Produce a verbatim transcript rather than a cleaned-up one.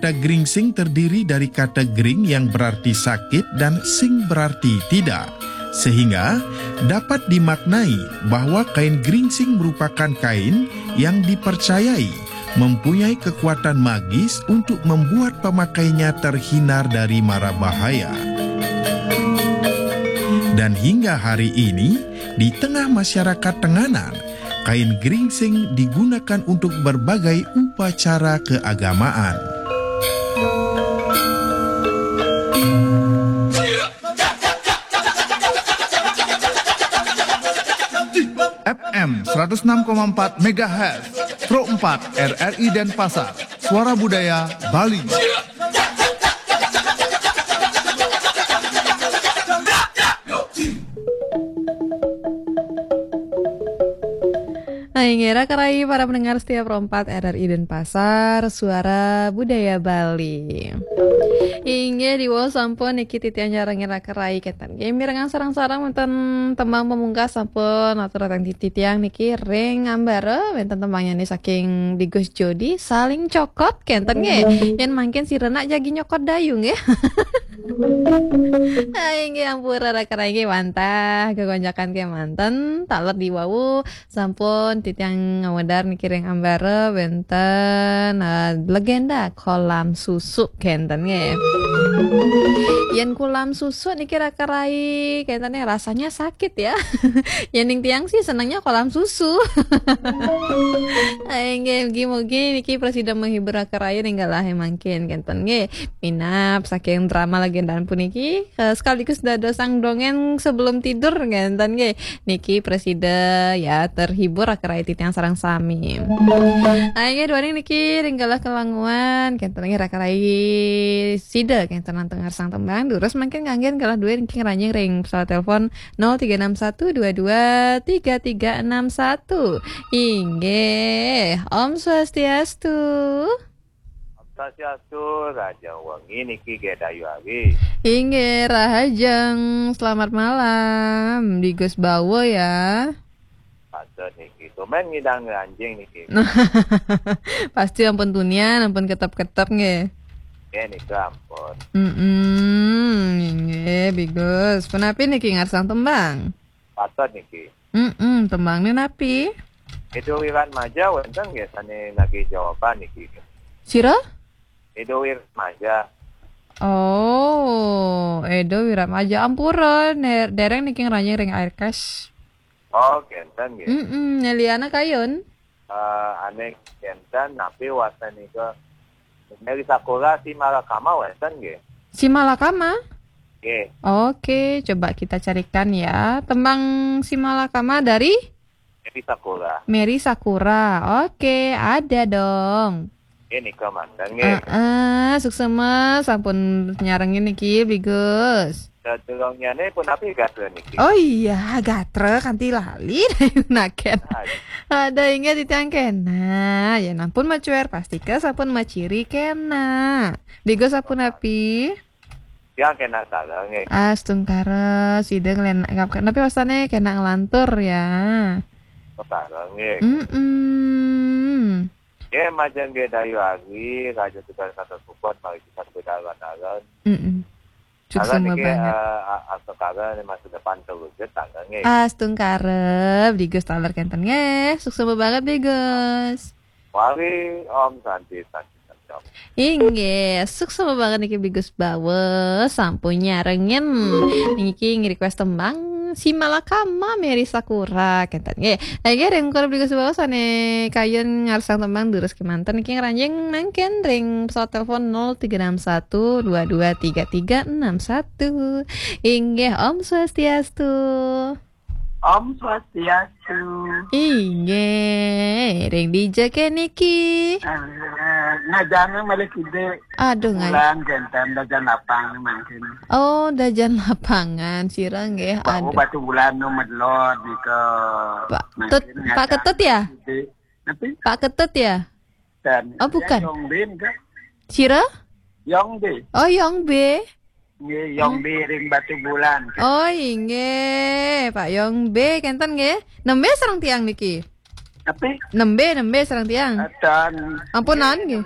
Kata geringsing terdiri dari kata gering yang berarti sakit dan sing berarti tidak. Sehingga dapat dimaknai bahwa kain geringsing merupakan kain yang dipercayai mempunyai kekuatan magis untuk membuat pemakainya terhindar dari mara bahaya. Dan hingga hari ini, di tengah masyarakat Tenganan, kain geringsing digunakan untuk berbagai upacara keagamaan. F M seratus enam koma empat megahertz, Pro empat R R I Denpasar, Suara Budaya Bali. Nah, inggih, raka rai para pendengar setia Pro empat R R I Denpasar, Suara Budaya Bali. Inggih, diwau sampun niki titiang nyarengin raka rai kenten. Nggih, mirengang sareng-sareng wonten tembang pamungkas sampun atur dateng titiang niki ring ambara wonten tembangnya niki saking Bigus Jodi, Saling Cokot kenten nggih. Yen mangkin si Renak jagi nyokot dayu nggih. Hai, inggih ampura raka rai nggih wantah kekonjakan kemanten taler diwau sampun titiang ngawedar niki ring ambara wonten, eh, legenda kolam susu kenten nggih. Yen kolam susu niki raka rai kenten nggih rasanya sakit ya. Yen ning tiang sih senengnya kolam susu. Hai, inggih mugi-mugi niki prasida menghibur raka rai ning galahe mangkin kenten nggih. Minab saking drama legenda puniki, eh, sekaligus dados sang dongeng sebelum tidur kenten nggih. Niki prasida ya terhibur raka rai titiang sareng sami. Inggih duaning niki ring galah kelanguan kenten nggih raka rai sida kenten nantang ngarsang tembang durus mangkin nganggen galah duwe niki ngranjing ring pesawat telepon nol tiga enam satu dua dua tiga tiga enam satu. Inggih, Om Swastiastu. Om Swastiastu, rahajeng wengi niki nggih Dayu Ari. Inggih, rahajeng. Selamat malam, Bigus Bawa ya. Patut niki. Tumben ngidang ngranjing niki. Pasti ampun tunian, ampun ketep-ketep nggih. Nggih nika ampun. Mm-mm, inggih, Bigus. Punapi niki ngarsang tembang? Patut niki. Mm-mm, tembang ni napi? Edo Wiratmaja wenten nggih sane nagih jawaban niki. Sira? Edo Wiratmaja. Oh, Edo Wiratmaja. Ampura, ne-, dereng niki ngranjing ring Aircast. Oh, kenten nggih. Mm-mm, Neliana kayun? Eh, ane kenten napi wastanika Mary Sakura Simalakama wenten nggih. Simalakama? Nggih. Oke, coba kita carikan ya. Tembang Simalakama dari Mary Sakura. Mary Sakura. Oke, ada dong. Nggih nika manten nggih. Heeh, suksema sampun nyarengin niki, Bigus. Sadurungnyane punapi gatra niki? Oh iya, gatra kanti lali naken. Aduh. Ada inggih titiang kena. Ya ampun macuer, pastika sampun maciri kena. Bigus sampun api? Tiang kena sareng nggih. Astungkara, sida nglen-, ngap-, napi wastane kena nglantur ya. Oh, sareng nggih. Mm-mm. Nggih, majeng nggih Dayu Ari, raja tugas kata support, mari kita sepeda alon-alon. Mm-mm. Alon suksema niki, banget. Eh, a-, astungkara ni masa depan terwujud, sareng nggih. Astungkara, Bigus taler kenten nggih. Suksema banget, Bigus. Wali, Om Santi, Santi, Santi, Om. Inggih, suksema banget niki Bigus Bawa, sampun nyarengin. Niki nge-request tembang Simalakama Mary Sakura, kenten nggih. Nggih, ring kula Bigus Bawa sane kayun ngarsang tembang durus kemanten niki ngranjing mangkin ring pesawat telepon nol tiga enam satu dua dua tiga tiga enam satu. Inggih, Om Swastiastu. Om Swastiastu. Inggih, ring dija ke niki? Eh, ngajana malih kidik. Aduh, ngai- Bulan kenten dajan lapang mangkin. Oh, dajan lapangan sira nggih. Pak, aduh. Batu Bulan nu medlot nika. Pak mangkin Tut, Pak ngajana Ketut ya? Kidik. Napi? Pak Ketut ya? Dan oh, bukan. Yong Bin ke? Sira? Yong Bin. Oh, Yong Be. Nggih, Yong Be ring Batu Bulan. Oh, inggih, Pak Yong Be kenten nggih. Nembe sareng tiang niki. Tapi nembe, nembe sareng tiang. Atan. Ampunan nggih.